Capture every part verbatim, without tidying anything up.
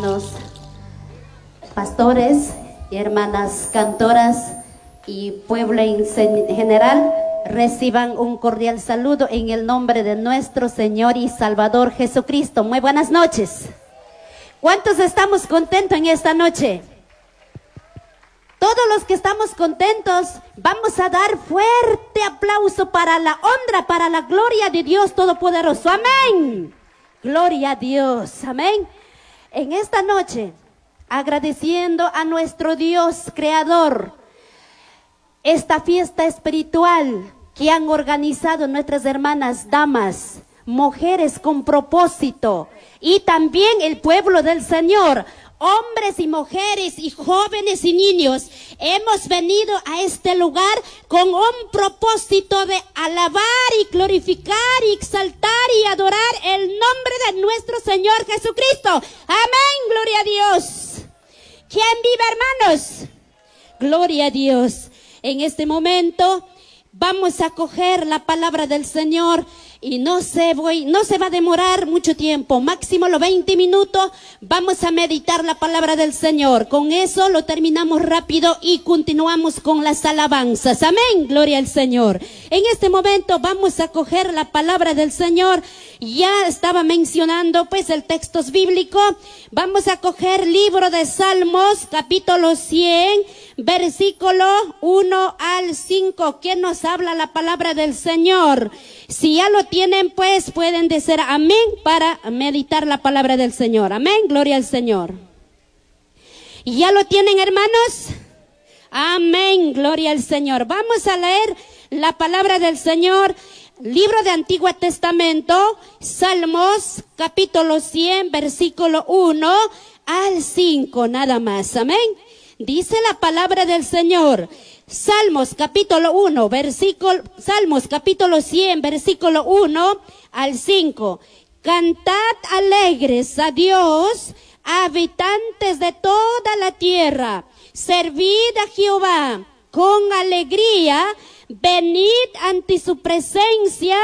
Hermanos pastores, hermanas cantoras y pueblo en general, reciban un cordial saludo en el nombre de nuestro Señor y Salvador Jesucristo. Muy buenas noches. ¿Cuántos estamos contentos en esta noche? Todos los que estamos contentos, vamos a dar fuerte aplauso para la honra, para la gloria de Dios Todopoderoso. Amén. Gloria a Dios. Amén. En esta noche, agradeciendo a nuestro Dios Creador, esta fiesta espiritual que han organizado nuestras hermanas damas, mujeres con propósito, y también el pueblo del Señor, hombres y mujeres y jóvenes y niños, hemos venido a este lugar con un propósito de alabar y glorificar y exaltar y adorar el nombre de nuestro Señor Jesucristo. Amén, gloria a Dios. ¿Quién vive, hermanos? Gloria a Dios. En este momento vamos a coger la palabra del Señor y no se voy, no se va a demorar mucho tiempo, máximo los veinte minutos, vamos a meditar la palabra del Señor. Con eso lo terminamos rápido y continuamos con las alabanzas. Amén, gloria al Señor. En este momento vamos a coger la palabra del Señor. Ya estaba mencionando pues el texto bíblico. Vamos a coger libro de Salmos, capítulo cien, versículo uno al cinco, que nos habla la palabra del Señor. Si ya lo tienen, pues pueden decir amén para meditar la palabra del Señor. Amén, gloria al Señor. ¿Y ya lo tienen, hermanos? Amén, gloria al Señor. Vamos a leer la palabra del Señor. Libro de Antiguo Testamento, Salmos, capítulo cien, versículo uno al cinco, nada más. Amén. Dice la palabra del Señor. Salmos capítulo uno, versículo, Salmos capítulo cien, versículo uno al cinco. Cantad alegres a Dios, habitantes de toda la tierra. Servid a Jehová con alegría, venid ante su presencia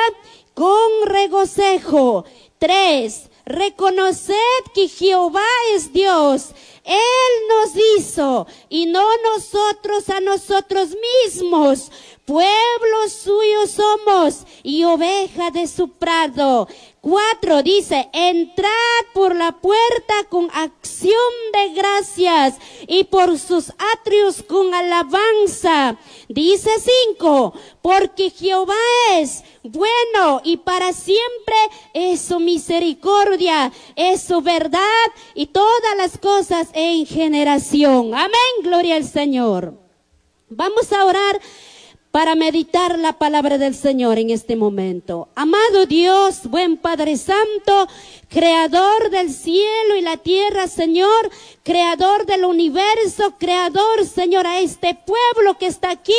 con regocijo. Tres, reconoced que Jehová es Dios. Él nos hizo y no nosotros a nosotros mismos. Pueblo suyo somos y oveja de su prado. Cuatro, dice, entrad por la puerta con acción de gracias y por sus atrios con alabanza. Dice cinco, porque Jehová es bueno y para siempre es su misericordia, es su verdad y todas las cosas en generación. Amén, gloria al Señor. Vamos a orar para meditar la palabra del Señor en este momento. Amado Dios, buen Padre Santo, Creador del cielo y la tierra, Señor, Creador del universo, Creador, Señor, a este pueblo que está aquí,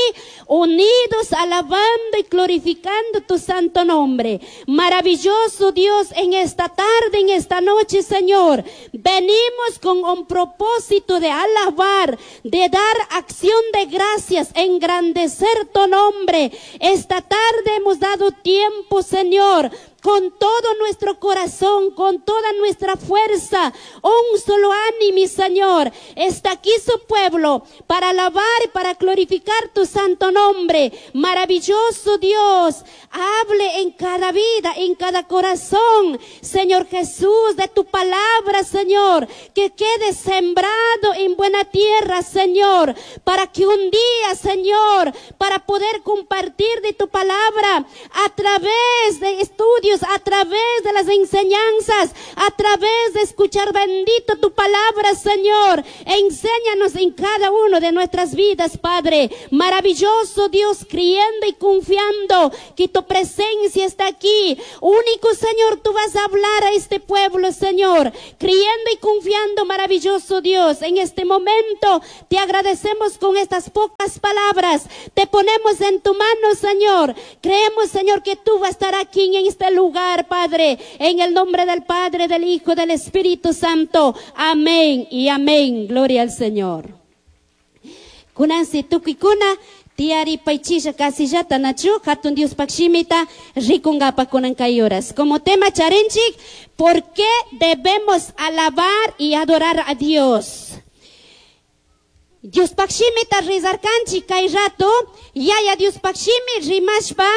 unidos, alabando y glorificando tu santo nombre. Maravilloso Dios, en esta tarde, en esta noche, Señor, venimos con un propósito de alabar, de dar acción de gracias, engrandecer tu nombre. Esta tarde hemos dado tiempo, Señor, con todo nuestro corazón, con toda nuestra fuerza, un solo ánimo, Señor. Está aquí su pueblo para alabar y para glorificar tu santo nombre. Maravilloso Dios, hable en cada vida, en cada corazón, Señor Jesús, de tu palabra, Señor, que quede sembrado en buena tierra, Señor, para que un día, Señor, para poder compartir de tu palabra a través de estudios, a través de las enseñanzas, a través de escuchar bendito tu palabra, Señor. Enséñanos en cada uno de nuestras vidas, Padre. Maravilloso Dios, creyendo y confiando que tu presencia está aquí. Único Señor, tú vas a hablar a este pueblo, Señor. Creyendo y confiando, maravilloso Dios, en este momento te agradecemos con estas pocas palabras. Te ponemos en tu mano, Señor. Creemos, Señor, que tú vas a estar aquí en este lugar, Padre, en el nombre del Padre, del Hijo, del Espíritu Santo. Amén y amén. Gloria al Señor. Kunansi tukikuna Tiyaripaychisha kasillata nachu hatun Diospaq shimita rikungapak kunan kay horas. Como tema charinchik, ¿por qué debemos alabar y adorar a Dios? Diospaq shimita rizarkanchik kay rato, yaya Diospaq shimi rimashpa,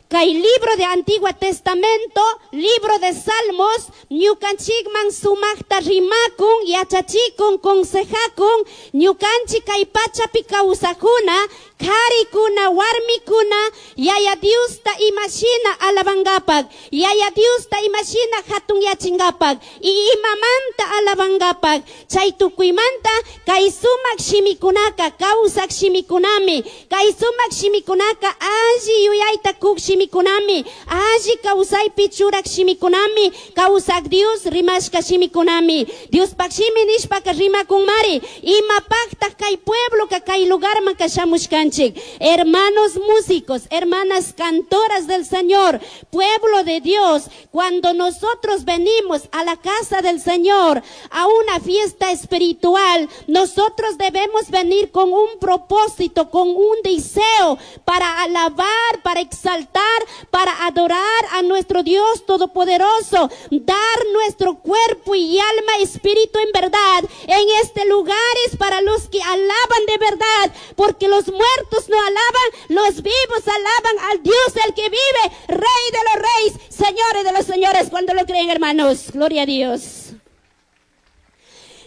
kay libro de Antiguo Testamento, libro de Salmos, ñukanchikman sumaqta rimakun, yachachikun, consejakun, ñukanchik kay pachapi kawsakuna, karikuna, warmikuna, yaya Diosta imashina alabangapak, yaya Diosta imashina hatun yachingapak, y imamanta alabangapak, chay tukuymanta kay sumak shimikunaka, kawsak shimikunami, kay sumak shimikunaka, alli yuyayta kuk shimikunami, alli kawsaypi churak shimikunami, kawsak Dios rimashka shimikunami, Diospaq shimi nishpaka rimakunmari, imapaqtaq kay pueblo ka kay lugarman kashamushkanchik. Hermanos músicos, hermanas cantoras del Señor, pueblo de Dios, cuando nosotros venimos a la casa del Señor, a una fiesta espiritual, nosotros debemos venir con un propósito, con un deseo para alabar, para exaltar, para adorar a nuestro Dios Todopoderoso, dar nuestro cuerpo y alma, espíritu en verdad. En este lugar es para los que alaban de verdad, porque los muertos no alaban, los vivos alaban al Dios el que vive, Rey de los reyes, señores de los señores, cuando lo creen, hermanos. Gloria a Dios.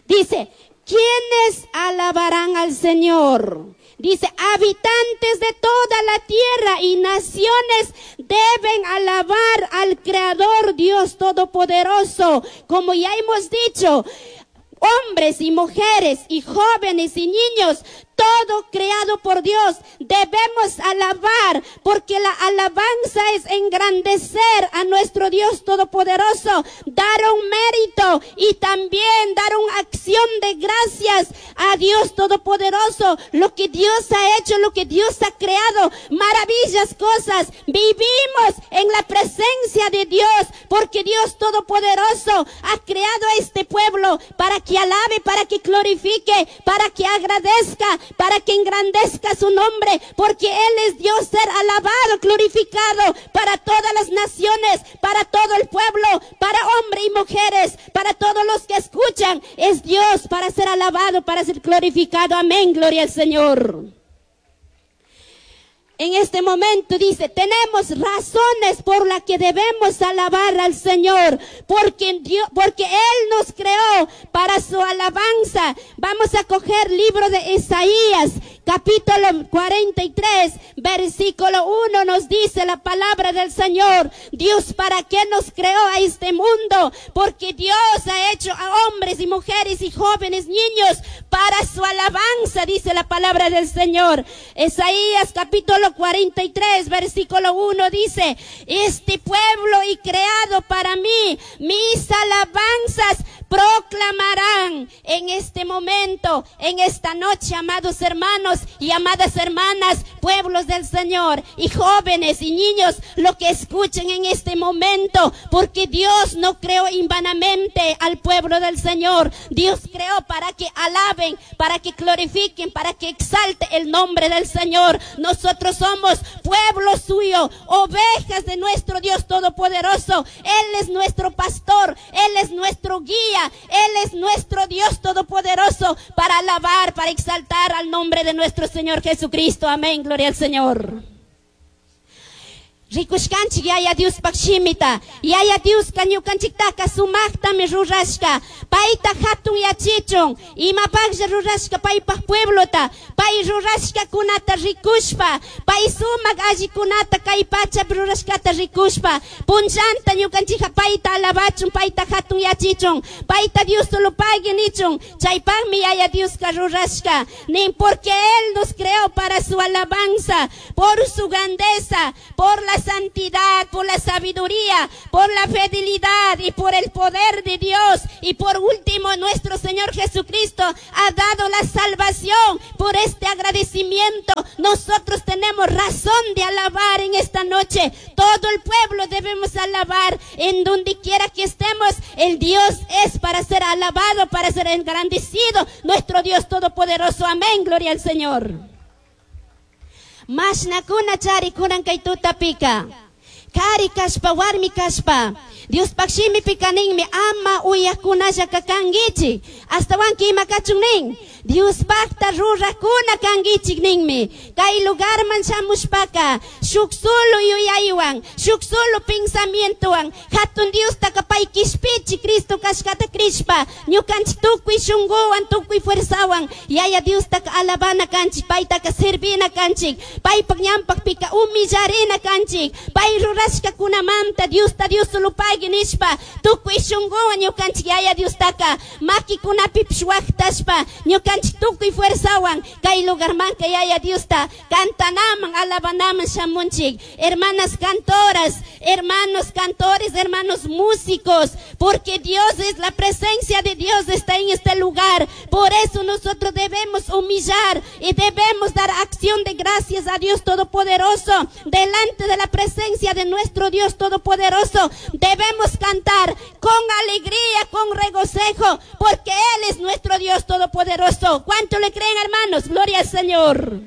Dice, ¿quiénes alabarán al Señor? Dice, habitantes de toda la tierra y naciones deben alabar al Creador Dios Todopoderoso. Como ya hemos dicho, hombres y mujeres y jóvenes y niños, todo creado por Dios, debemos alabar, porque la alabanza es engrandecer a nuestro Dios Todopoderoso, dar un mérito y también dar una acción de gracias a Dios Todopoderoso, lo que Dios ha hecho, lo que Dios ha creado, maravillas cosas. Vivimos en la presencia de Dios, porque Dios Todopoderoso ha creado a este pueblo para que alabe, para que glorifique, para que agradezca, para que engrandezca su nombre, porque Él es Dios, ser alabado, glorificado para todas las naciones, para todo el pueblo, para hombres y mujeres, para todos los que escuchan. Es Dios para ser alabado, para ser glorificado. Amén, gloria al Señor. En este momento dice, tenemos razones por las que debemos alabar al Señor, porque Dios, porque Él nos creó para su alabanza. Vamos a coger libro de Isaías, capítulo cuarenta y tres, versículo uno, nos dice la palabra del Señor. Dios, ¿para qué nos creó a este mundo? Porque Dios ha hecho a hombres y mujeres y jóvenes, niños, para su alabanza, dice la palabra del Señor. Isaías capítulo cuarenta y tres, versículo uno dice, este pueblo y creado para mí, mis alabanzas proclamarán. En este momento, en esta noche, amados hermanos y amadas hermanas, pueblos del Señor, y jóvenes y niños, lo que escuchen en este momento, porque Dios no creó invanamente al pueblo del Señor. Dios creó para que alaben, para que glorifiquen, para que exalte el nombre del Señor. Nosotros somos pueblo suyo, ovejas de nuestro Dios Todopoderoso. Él es nuestro pastor, Él es nuestro guía, Él es nuestro Dios Todopoderoso, para alabar, para exaltar al nombre de nuestro Señor Jesucristo. Amén, gloria al Señor. Rikushkanchik yaya Diospaq shimita, yaya Dioska ñukanchiktaka sumaqtami rurashka, payta hatun yachichun, imapaqlla rurashka paypaq pueblota, pay rurashkakunata rikushpa, pay sumaq allikunata kay pachapi rurashkata rikushpa, punllanta ñukanchikqa payta alabachun, payta hatun yachichun, payta Dios solo pagui nichun, chaypaqmi yaya Dioska rurashka, nin porque Él nos creó para su alabanza, por su grandeza, por la santidad, por la sabiduría, por la fidelidad y por el poder de Dios. Y por último, nuestro Señor Jesucristo ha dado la salvación. Por este agradecimiento, nosotros tenemos razón de alabar en esta noche. Todo el pueblo debemos alabar en donde quiera que estemos. El Dios es para ser alabado, para ser engrandecido. Nuestro Dios Todopoderoso. Amén. Gloria al Señor. Mashnakuna charikunan kay tutapika. Kari kashpa, warmi kashpa. Diospaj shimipika ninmi ama uyakunallaka kankichik. Ashtawanka ima kachun nin. Diospajta rurakuna kankichik ninmi. Kay lugarman shamushpaka shuk solo yuyaywan, shuk solo pensamientowan, hatun Diostaka pay kishpichi Cristo kashkata krishpa, ñukanchik tukuy shunguwan, tukuy fuerzawan, Yaya Diostaka alabana kanchik, paytaka servina kanchik, paypak ñanpakpika humillarina kanchik, pay rurashkakunamanta Diosta Dios solo pagui nishpa, tukuy shunguwan ñukanchik Yaya Diostaka makikunapipish waqtashpa, ñukanchik tukuy fuerzawan kay lugarmanka Yaya Diosta cantanaman, alabanaman shamunchik. Hermanas cantoras, hermanos cantores, hermanos músicos, porque Dios es la presencia de Dios está en este lugar. Por eso nosotros debemos humillar y debemos dar acción de gracias a Dios Todopoderoso. Delante de la presencia de nuestro Dios Todopoderoso debemos cantar con alegría, con regocijo, porque Él es nuestro Dios Todopoderoso. ¿Cuánto le creen, hermanos? Gloria al Señor.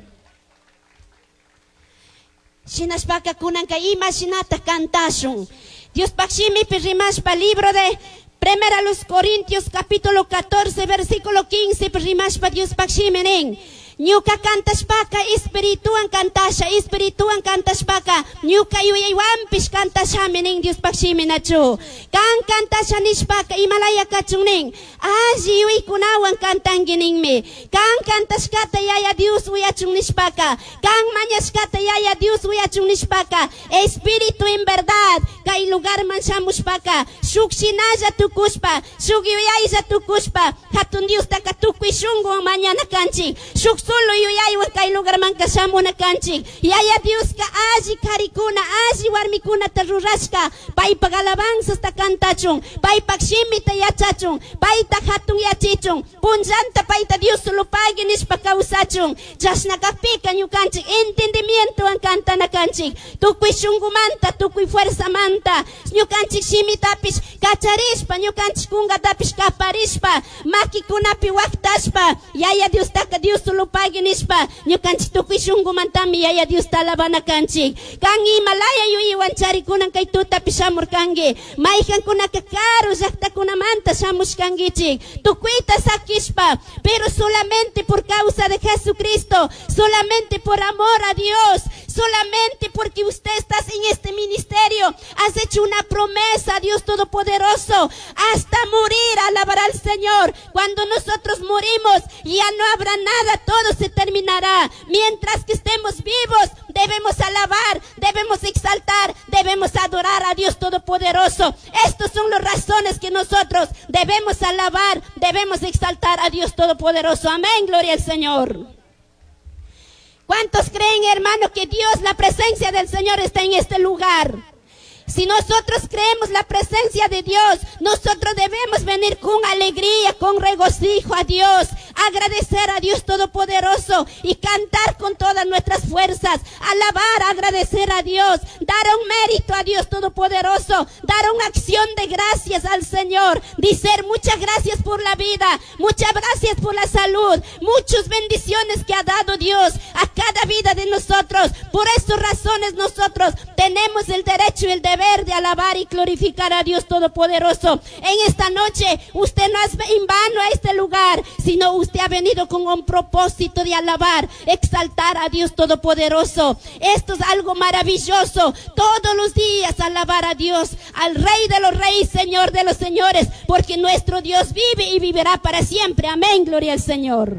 Shinashpaka kunanka ima shinata kantashun. Diospaj shimipi rimashpa libro de Primera los Corintios capítulo catorce versículo quince rimashpa Diospaj shimi nin. Ñuka kantashpaka espirituwan kantasha, espirituwan kantashpaka ñuka yuyaywanpish kantashami nin Diospaj shimi nachu. Kan kantasha nishpaka imalaya kachun nin. Alli yuyaykunawan kantanki ninmi. Kan kantashkata Yaya Dios uyachun nishpaka, kan mañashkata Yaya Dios uyachun nishpaka, espíritu en verdad kay lugarman shamushpaka shuk shinalla tukushpa, shuk yuyaylla tukushpa, hatun Diostaka tukuy shunguwan mañana kanchik, shuk solo yuyaywan kay lugarmanka shamuna kanchik. Yaya Dioska alli karikuna, alli warmikunata rurashka, paypak alabanzasta kantachun, paypak shimita yachachun, payta hatun yachichun, punllanta payta Dios solo pagui nishpa kawsachun. Chashna kakpika ñukanchik entendimientowan kantana kanchik, tukuy shungumanta, tukuy fuerzamanta, ñukanchik shimitapish kacharishpa, ñukanchik kunkatapish kaparishpa, makikunapi waqtashpa, Yaya Diostaka Dios solo pagui nishpa, ñukanchik tukuy shungumantami Yaya Diosta alabana kanchik. Kan imalaya yuyaywan charikunan kay tutapi shamurkanki, mayqankunaka karu llaqtakunamanta shamushkankichik, tukuyta sakishpa, pero solamente por causa de Jesucristo, solamente por amor a Dios, solamente porque usted está en este ministerio, has hecho una promesa a Dios Todopoderoso, hasta morir alabar al Señor. Cuando nosotros morimos, ya no habrá nada, todo se terminará. Mientras que estemos vivos, debemos alabar, debemos exaltar, debemos adorar a Dios Todopoderoso. Estas son las razones que nosotros debemos alabar, debemos exaltar a Dios Todopoderoso. Amén, gloria al Señor. ¿Cuántos creen, hermano, que Dios, la presencia del Señor está en este lugar? Si nosotros creemos la presencia de Dios, nosotros debemos venir con alegría, con regocijo a Dios, agradecer a Dios Todopoderoso y cantar con todas nuestras fuerzas, alabar, agradecer a Dios, dar un mérito a Dios Todopoderoso, dar una acción de gracias al Señor, decir muchas gracias por la vida, muchas gracias por la salud, muchas bendiciones que ha dado Dios a cada vida de nosotros. Por esas razones nosotros tenemos el derecho y el deber de alabar y glorificar a Dios Todopoderoso. En esta noche usted no es en vano a este lugar, sino usted ha venido con un propósito de alabar, exaltar a Dios Todopoderoso. Esto es algo maravilloso. Todos los días alabar a Dios, al Rey de los Reyes, Señor de los Señores, porque nuestro Dios vive y vivirá para siempre. Amén, gloria al Señor.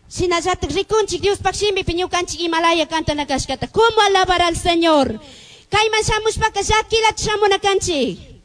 Shinallatak rikunchik Diospaj shimipi ñukanchik imalaya kantana kashkata. ¿Cómo alabar al Señor? Kayman shamushpaka llakilata shamuna kanchik.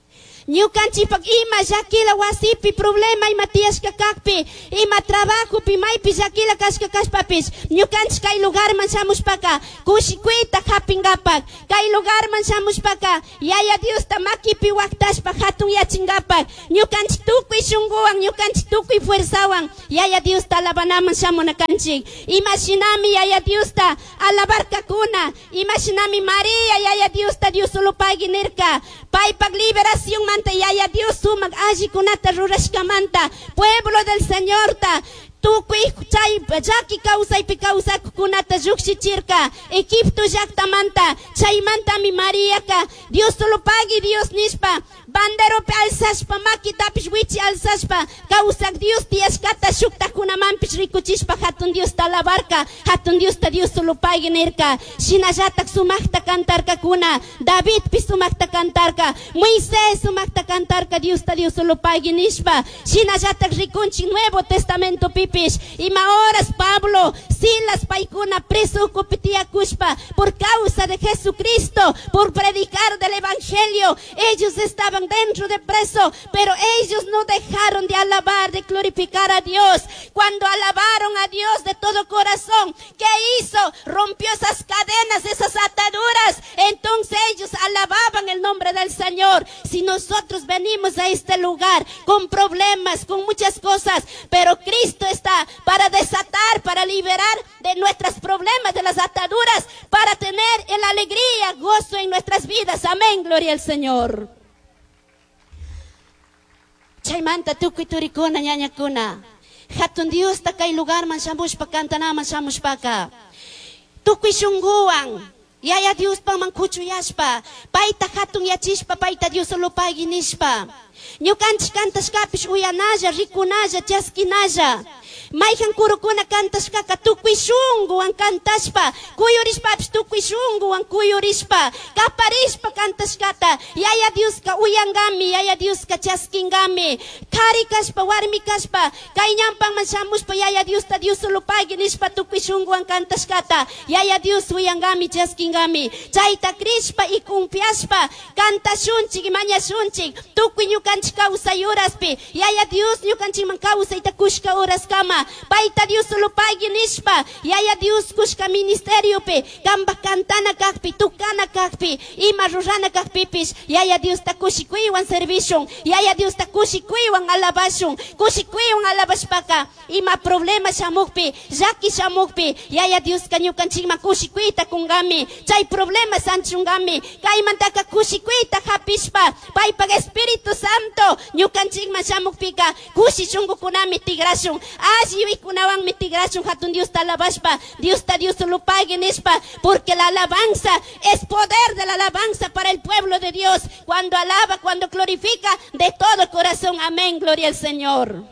Ñukanchikpak ima llakila wasipi problema ima tiyashka kakpi, ima trabajopi maypi llakila kashka kashpapish, ñukanchik kay lugarman shamushpaka kushikuyta hapingapak, kay lugarman shamushpaka Yaya Diosta makipi waqtashpa hatun yachingapak, ñukanchik tukuy shunguwan, ñukanchik tukuy fuerzawan Yaya Diosta alabanaman shamuna kanchik. Ima shinami Yaya Diosta alabarkakuna, ima shinami María Yaya Diosta Dios solo pagui nirka, paypak liberación manta Yaya Dios sumak allikunata rurashkamanta, pueblo del Señor ta Tukuy chay llaki kawsaypi kawsakuqkunata lluqshichirka Egipto llaqtamanta. Chaymantami Mariaka Dios solo pagui Dios nishpa banderopi alzashpa makitapish wichi alzashpa kawsak Dios tiyashkata shuktakunamanpish rikuchishpa hatun Diosta alabarka, hatun Diosta Dios solo pagui nirka. Shinallatak sumaqta cantarkakuna, Davidpish sumaqta cantarka, Moisés sumaqta cantarka Diosta Dios solo pagui nishpa. Shinallatak rikunchik Nuevo Testamento pipish ima horas Pablo, Silas paykuna preso ukupi tiyakushpa por causa de Jesucristo, por predicar del Evangelio, ellos estaban dentro de preso, pero ellos no dejaron de alabar, de glorificar a Dios. Cuando alabaron a Dios de todo corazón, ¿qué hizo? Rompió esas cadenas, esas ataduras. Entonces ellos alababan el nombre del Señor. Si nosotros venimos a este lugar con problemas, con muchas cosas, pero Cristo está para desatar, para liberar de nuestros problemas, de las ataduras, para tener la alegría, gozo en nuestras vidas. Amén, gloria al Señor. Chaymanta tukuy turikuna ñañakuna. Hatun Diosta kay lugarman shamushpa kantanaman shamushpaka. Tukuy shunguwan Yaya Diospakman kuchuyashpa, payta hatun yachishpa, payta Dios solo pagui nishpa. Ñukanchik kantashkapish uyanalla, rikunalla, chaskinalla. Mayhan kurukuna kantashkaka tukuy shunguwan kantashpa, kuyurishpapish tukuy shunguwan kuyurishpa, kaparishpa kantashkata, Yaya Dioska uyangami, Yaya Dioska chaskingami. Kari kashpa, warmi kashpa, kay ñampanman shamushpa Yaya Diosta Dios solo pagui nishpa tukuy shunguwan kantashkata, Yaya Dios uyangami, chaskingami. Chayta krishpa y confiashpa, kantashunchik, mañashunchik, tukuy ñukanchik kawsay horaspi, Yaya Dios ñukanchikman kawsayta kushka horaskama, payta Dios solo pagui nishpa, Yaya Dios kushka ministeriopi, kamba kantana kakpi, tukana kakpi, ima rurana kakpipish, Yaya Diosta kushikuywan servishun, Yaya Diosta kushikuywan alabashun, kushikuywan alabashpaka, ima problema shamukpi, llaki shamukpi, Yaya Dioska ñukanchikman kushikuyta kungami, chay problema sanchungami, kaymantaka kushikuyta hapishpa, paypak Espíritu Santo ñukanchikman shamukpika, kushi shunkukunami tigrashun, alli yuykunawanmi tigrashun, hatun Diosta alabashpa, Diosta Dios solo pagui nishpa, porque la alabanza es poder de la alabanza para el pueblo de Dios, cuando alaba, cuando glorifica de todo corazón. Amén, gloria al Señor.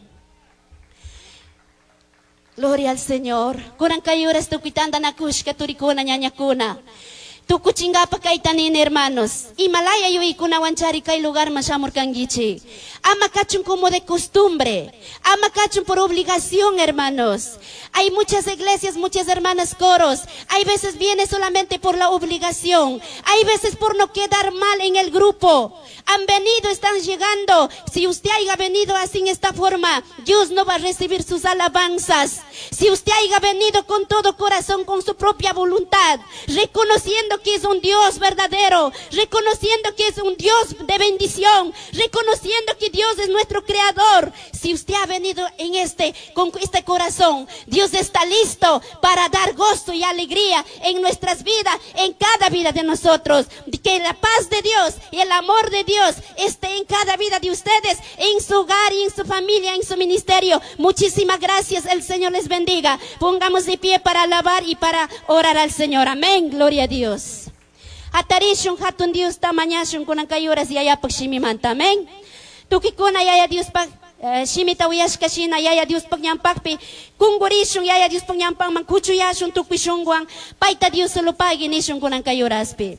Gloria al Señor. Kunan kay horas tukuytanta nakushka turikuna ñañakuna. Tukuchingapa kayta nini hermanos. Imalaya yuykunawan chari kay lugarman shamurkankichik. Ama kachun como de costumbre. Ama kachun por obligación, hermanos. Hay muchas iglesias, muchas hermanas coros. Hay veces viene solamente por la obligación. Hay veces por no quedar mal en el grupo. Han venido, están llegando. Si usted haya venido así en esta forma, Dios no va a recibir sus alabanzas. Si usted haya venido con todo corazón, con su propia voluntad, reconociendo que es un Dios verdadero, reconociendo que es un Dios de bendición, reconociendo que Dios es nuestro creador. Si usted ha venido en este, con este corazón, Dios está listo para dar gozo y alegría en nuestras vidas, en cada vida de nosotros. Que la paz de Dios y el amor de Dios esté en cada vida de ustedes, en su hogar y en su familia, en su ministerio. Muchísimas gracias, el Señor les bendiga. Pongamos de pie para alabar y para orar al Señor. Amén, gloria a Dios. Hatarishun hatun Diosta mañashun kunan kay horas yayapak shimimanta. Amén. Tukikuna yaya Diospak shimita uyashka shina yaya Diospak ñampakpi kungurishun yaya Diospak ñampakman kuchuyashun tukuy shunguwan payta Dios solo pagui nishun kunan kay horaspi.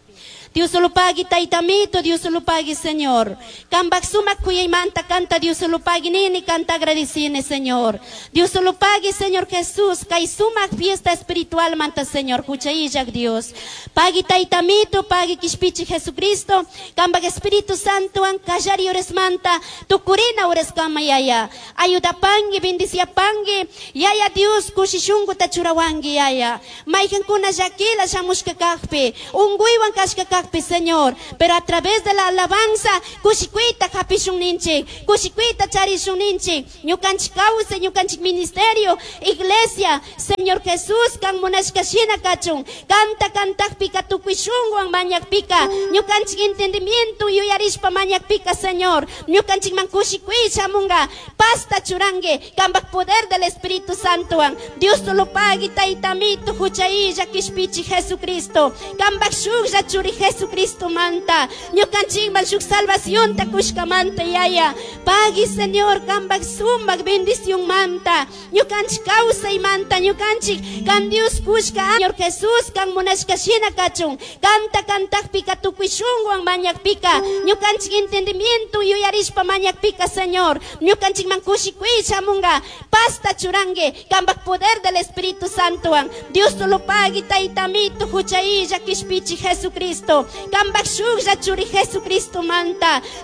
Dios solo pagui taytamito, Dios solo pagui Señor. Kambak sumak kuyaymanta kanta Dios solo pagui nini kanta agradecine Señor. Dios solo pagui Señor Jesús, kay sumak fiesta espiritual manta Señor, huchayillak Dios. Pagui taytamito, pagui kishpichi Jesucristo, kambak Espíritu Santo an kallari manta, tukurina kama yaya. Ayuda pangi, bendicia pangi, yaya Dios kushishungu tachurawangi yaya. Mayhankuna llakila shamushka kakpi, unguywan kashka kakpi, cajpi, Señor, pero a través de la alabanza kushikuyta hapishun ninchik, kushikuyta charishun ninchik, ñukanchik kawsay, ñukanchik ministerio, iglesia, Señor Jesús, kan munashka shina kachun, kanta kantakpika tukuy shunguwan mañakpika, ñukanchik entendimiento yuyarishpa mañakpika, Señor, ñukanchikman kushikuy shamunga, pazta churangi, kambak poder del Espíritu Santo, Dios solo pagui tayta amito hucha illaj kishpichij Jesucristo, kambak shuklla churi Jesucristo manta, ñukanchikman shuk salvación ta kushkamanta yaya, pagui Señor kambak sumak bendición manta, ñukanchik kawsaymanta, ñukanchik kan Dios kushka, Señor Jesús kan munashka shina kachun, kanta kantakpika tukuy shunguwan mañakpika, ñukanchik entendimiento yuyarishpa mañakpika, Señor, ñukanchikman kushikuy shamunga, pazta churangi, kambak poder del Espíritu Santo, Dios solo pagui tayta amito hucha illaj kishpichij Jesucristo, kambak shuklla churi Jesucristo manta.